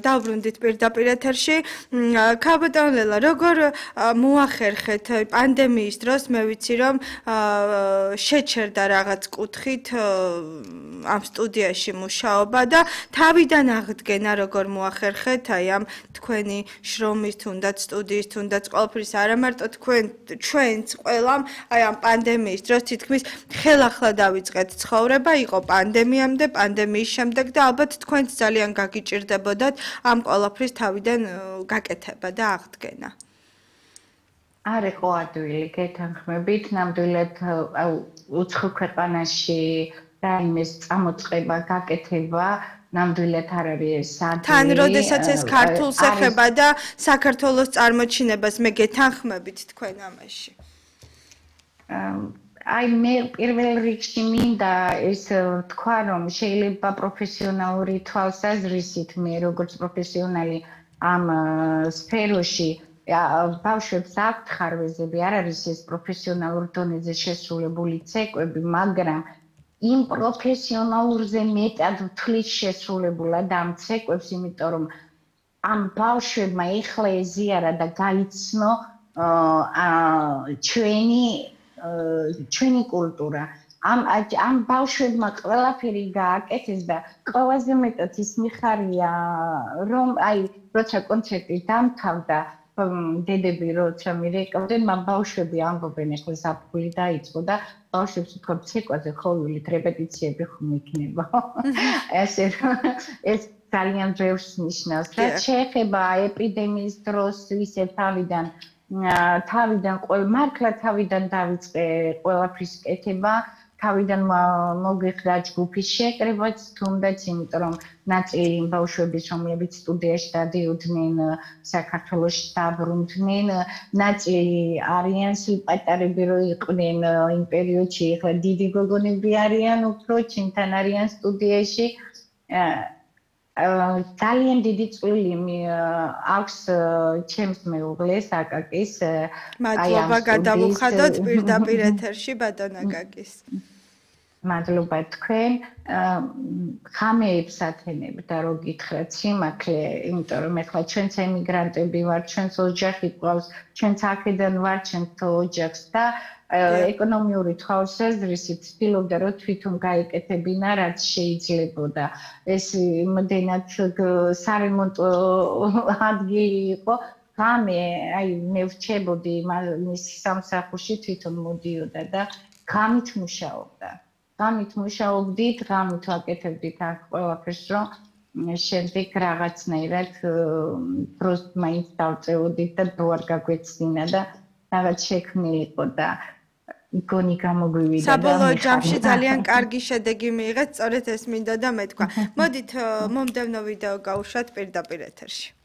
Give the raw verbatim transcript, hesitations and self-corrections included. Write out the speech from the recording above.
დავბრუნდით პირდაპირ ეთერში. ქაბატონელა, როგორ მოახერხეთ პანდემიის დროს, მე ვიცი რომ შეჩერდა რაღაც კუთხით ამ სტუდიაში მუშაობა და თავიდან აღდგენა როგორ მოახერხეთ აი ამ თქვენი შრომის თუნდაც სტუდიის თუნდაც ყველაფრის არა მარტო თქვენ ჩვენც ყველამ აი ამ პანდემიის დროს თითქმის ხელახლა დავიწყეთ ცხოვრება იყო პანდემიამდე პანდემიის შემდეგ და ალბათ თქვენც ძალიან გაგიჭირდებოდათ ამ ყველაფრის თავიდან გაკეთება და აღდგენა არ იყო ადვილი გეთანხმებით ნამდვილად უცხო ქვეყანაში და იმის წამოწყება გაკეთება ნამდვილად არ არის ადვილი თან როდესაც ეს ქართულს ეხება და საქართველოს წარმოჩინებას მე გეთანხმებით თქვენ ამაში აი მე პირველ რიგში მინდა ეს თქვა რომ შეიძლება პროფესიონალური თვალსაზრისით მე როგორც პროფესიონალი ამ სფეროში ბავშვებს აქვთ ხარვეზები არ არის ეს პროფესიონალურ დონეზე შესრულებული ცეკვები მაგრამ იმ პროფესიონალურზე მეტად თulis შესრულებულად ამ ცეკვებს იმიტომ რომ ამ ბავშვებმა ეხლა ეზიარა და გაიცნო ჩვენი ჩვენი კულტურა ამ ამ ბავშვებმა ყველაფერი გააკეთეს და ყველაზე მეტად ის მიხარია რომ აი როცა კონცერტი დამთავრდა დედები როცა მირეკავდნენ მაგ ბავშვები ამბობენ ეხლა საფრთხე დაიწყო და ბავშვებს ვთქვათ ცეკვაზე ხოვილით რეპეტიციები ხომ იქნება ესე ეს ძალიან ბევრს ნიშნავს რაც შეეხება ეპიდემიის დროს ისე თავიდან თავიდან ყოველ მართლა თავიდან დავიწყე ყველაფრის კეთება თავიდან მოგიხდა ჯგუფის შეკრებაც თუნდაც იმიტომ რომ ნაწილი ბავშვების რომლებიც სტუდიაში დადიოდნენ საქართველოში დაბრუნდნენ ნაწილი არიან სილპატარები რო იყვნენ იმ პერიოდში ეხლა დიდი გოგონები არიან უფრო ჩინთან არიან სტუდიაში ძალიან დიდი წვლილი აქვს ჩემს მეუღლეს აკაკის მადლობა გადავუხადოთ პირდაპირ ეთერში ბატონ აკაკის მადლობა თქვენ ხამეებს ათენებდა რო გითხრათ სიმართლე იმიტომ რომ ეხლა ჩვენც ემიგრანტები ვართ ჩვენც ოჯახი გვყავს ჩვენც აქედან ვართ ჩვენს ოჯახს და ეკონომიური თვალსაზრისით ცდილობდა რომ თვითონ გაეკეთებინა რაც შეიძლებოდა ეს იმდენად სარემონტო ადგილი იყო ღამე აი მე ვრჩებოდი მის სამსახურში თვითონ მოდიოდა და ღამით მუშაობდა ღამით მუშაობდით ღამით ვაკეთებდით აქ ყველაფერს რომ შემდეგ რაღაცნაირად დროს მაინც დავწევოდით და დრო არ გაგვეცდინა და რაღაც შექმნილიყო და გონი გამოგვივიდა და საბოლოო ჯამში ძალიან კარგი შედეგი მიიღეთ სწორედ ეს მინდა და მეთქვა მოდით მომდევნო ვიდეო გავუშვათ პირდაპირ ეთერში